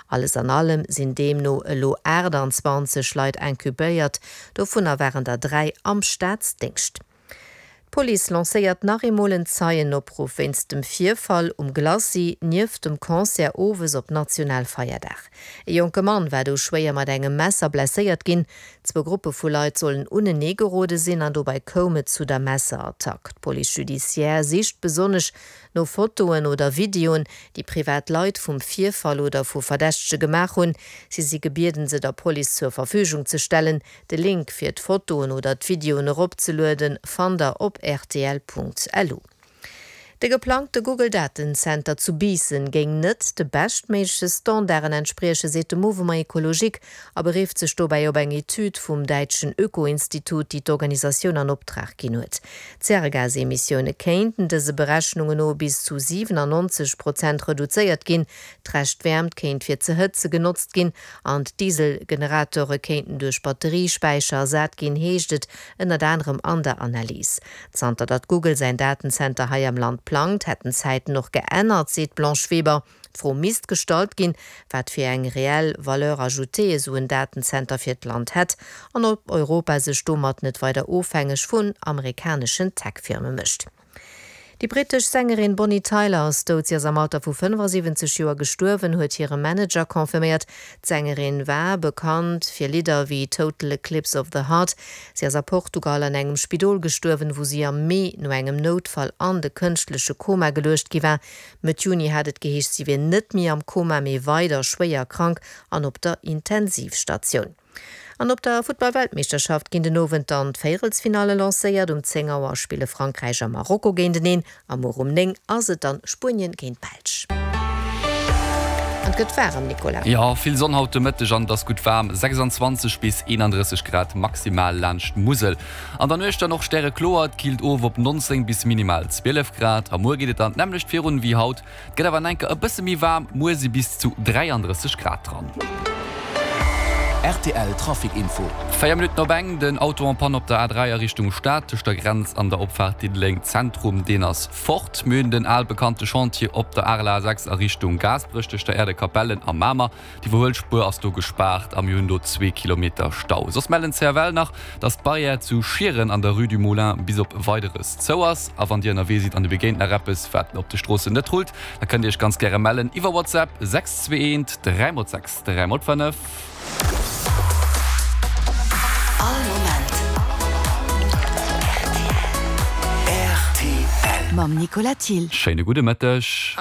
Alles an allem sinn deemno elo 28 Leit incubéiert, dovunner waren der 3 am Staatsdéngscht. D'Police lancéiert nach eemol en Zeienopruff wéinst dem Virfall um Glacis nieft dem Concert owes op Nationalfeierdag. E jonke Mann war do schwéier mat engem Messer blesséiert ginn. Zwou Gruppe vu Leit sollen unenee gerode sinn an dobäi koum et zu der Messerattack. D'Police judiciaire sicht besonnesch no Fotoen oder Videoen, déi privat Leit vum Virfall oder vu Verdächtege gemaach hunn. Si si gebieden, se der Police zur Verfügung ze stellen. De Link fir d'Fotoen oder d'Videoen eropzelueden fannt der op rtl.lu. De geplangte Google-Datenzenter zu Biissen géing net de beschtméigleche Standarden entspriechen, seet de Mouvement Ecologique a berifft sech dobäi op eng Etüd vum däitschen Öko-Institut, déi d'Organisatioun an Optrag ginn huet. D'Zäregasemissioune kéinten dëse Berechnungen no bis zu 97 Prozent reduzéiert ginn, d'Reschtwäermt kéint fir ze hëtze genotzt ginn an d'Dieselgeneratore kéinten duerch Batteriespäicher ersat ginn, heescht et ënnert anerem an der Analys. Zanter datt Google säin Datenzenter hei am Land plangt, hätten d'Zäiten och geännert, seet d'Blanche Weber. D'Fro misst gestallt ginn, wat fir eng reell Valeur ajoutée esou en Datenzenter fir d'Land hätt an ob Europa sech domat net weider ofhängeg vun amerikaneschen Tech-Firme mécht. Déi brittesch Sängerin Bonnie Tyler ass dout. Si ass am Alter vu 75 Joer gestuerwen, huet hire Manager confirméiert. D'Sängerin war bekannt fir Lidder wéi Total Eclipse of the Heart. Si ass a Portugal an engem Spidol gestuerwen, wou si am Mee no engem Noutfall an de kënschtleche Koma geluecht gi war. Mëtt Juni hat et geheescht, si wier net méi am Koma, mee weider schwéier krank an op der Intensivstatioun. An op der Futtball-Weltmeeschterschaft ginn den Owend dann d'Véierelsfinalle lancéiert. Um 10 Auer spille Frankräich a Marokko géinteneen a muer um 9 ass et dann Spuenien géint d'Belsch. An et gëtt waarem, Nicolas. Jo, vill Sonn haut de Mëtteg an et ass gutt waarm, 26 bis 31 Grad maximal laanscht d'Musel. An der Nuecht dann och stärekloer, et killt of op 19 bis minimal 12 Grad. A muer geet et dann d'nämmlecht virun wéi haut, Et gëtt awer enker e bësse méi waarm, muer si bis zu 33 Grad dran. Rtl Trafic Info. 4 Minutten op eng, den Auto en panne op der A3 a Richtung Stad tëscht der Grenz an der Opfaart Diddeleng Zentrum, deen ass fort. Mir hunn den al bekannte Chantier op der Arel A6 a Richtung Gaasperech tëscht der Äerdekapellen a Mamer. D'Iwwerhuelspuer ass do gespaart a mir hunn do zwee Kilometer Stau. Soss mellen d'CFL nach, dass d'Barrière zu Schieren an der Rue du Moulin bis op Weideres zou ass. A wann Dir ënnerwee sidd an Dir begéint nach eppes, wat op de Stroossen net rullt, da kënnt Dir Iech ganz gäre mellen iwwer WhatsApp 621 3 x 6 3 x 5. All Moment rtl. Mam Nicolas Thill. Schéine gudde Mëtteg.